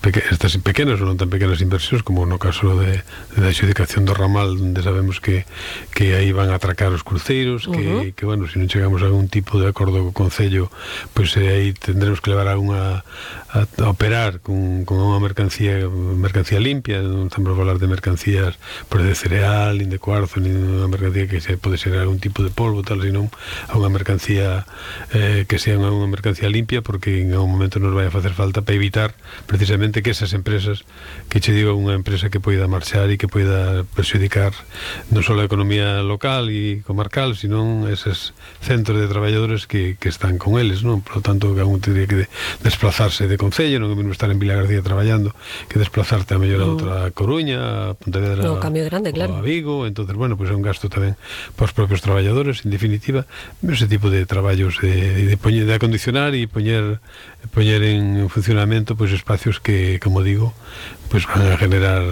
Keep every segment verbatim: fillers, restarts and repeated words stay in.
peque, estas pequenas ou non tan pequenas inversións, como no caso de, de da adxudicación do ramal, onde sabemos que, que aí van a atracar os cruceiros, que, uh-huh. que bueno, se non chegamos a algún tipo de acordo co Concello, pois pues, aí tendremos que levar a unha a, a operar con, con unha mercancía mercancía limpia, non estamos a falar de mercancías por de cereal, nin de cuarzo, nin unha mercancía que se pode ser algún tipo de polvo, tal, senón a unha mercancía eh, que sea unha mercancía limpia, porque en algún momento nos vai a facer falta para evitar precisamente que esas empresas, que che digo, unha empresa que poida marchar e que poida perxudicar non só a economía local e comarcal, sino eses centros de traballadores que, que están con eles, non? Por lo tanto, que algún tendría que de, desplazarse de Concello, non é mesmo estar en Vila García traballando, que desplazarte a mellor a outra Coruña, a Pontevedra, no, cambio grande, claro, a Vigo. Entonces, bueno, pues é un gasto tamén para os propios traballadores, en definitiva, ese tipo de traballos de, de, poñer, de acondicionar e poñer, poñer en funcionamento pues espacios que, como digo, pues van a generar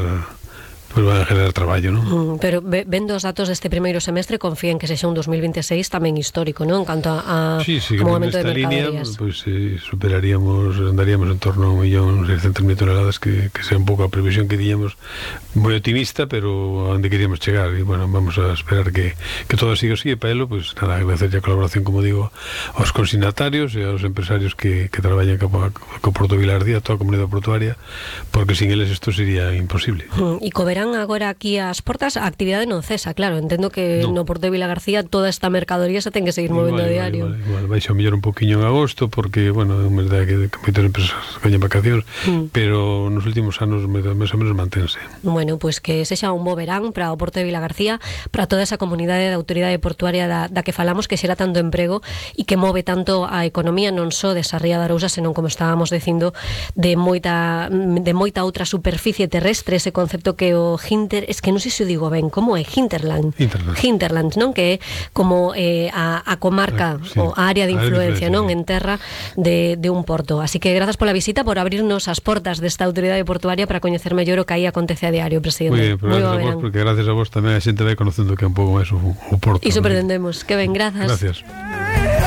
pues van a generar traballo, non? Mm, pero vendo os datos deste primeiro semestre, confíen que sexa un dos mil veintiséis tamén histórico, non? En canto a, a sí, sí, como aumento de línea, mercaderías. pues eh, superaríamos, andaríamos en torno a un millón seiscientos mil toneladas, que, que sea un pouco a previsión que tiñamos, moi optimista, pero a onde queríamos chegar. E, bueno, vamos a esperar que, que todo siga así, e para elo, pues nada, agradecer a colaboración, como digo, aos consignatarios e aos empresarios que, que traballan co, co Porto Vilardía, toda a comunidade portuaria, porque sin eles isto sería imposible. Mm, e co verán agora aquí ás portas, a actividade non cesa, claro, entendo que no, no Porto de Vilagarcía toda esta mercadoría se ten que seguir movendo vale, a diario. Vale, vale, vale. Vai xa mellor un poquinho en agosto, porque, bueno, é unha verdade que, que moitas empresas coñen vacacións, mm. pero nos últimos anos máis ou menos mantense. Bueno, pois pues que sexa un bo verán para o Porto de Vilagarcía, para toda esa comunidade da autoridade portuaria da, da que falamos, que xera tanto emprego e que move tanto a economía non só de Sarria de Arousa, senón, como estábamos dicindo, de moita de moita outra superficie terrestre, ese concepto que o Hinter, es que non sei se o digo ben, como é? Hinterland. Hinterland, Hinterland, non? Que é como eh, a, a comarca, ah, sí, o a área de influencia, non? Sí. En terra de, de un porto. Así que grazas pola visita, por abrirnos as portas desta autoridade portuaria para coñecer mellor o que aí acontece a diario, presidente. Muy bien, pero Muy gracias a vos, porque gracias a vos tamén a xente vai conocendo que é un pouco máis o, o porto. Iso pretendemos. Que ben, grazas. Gracias.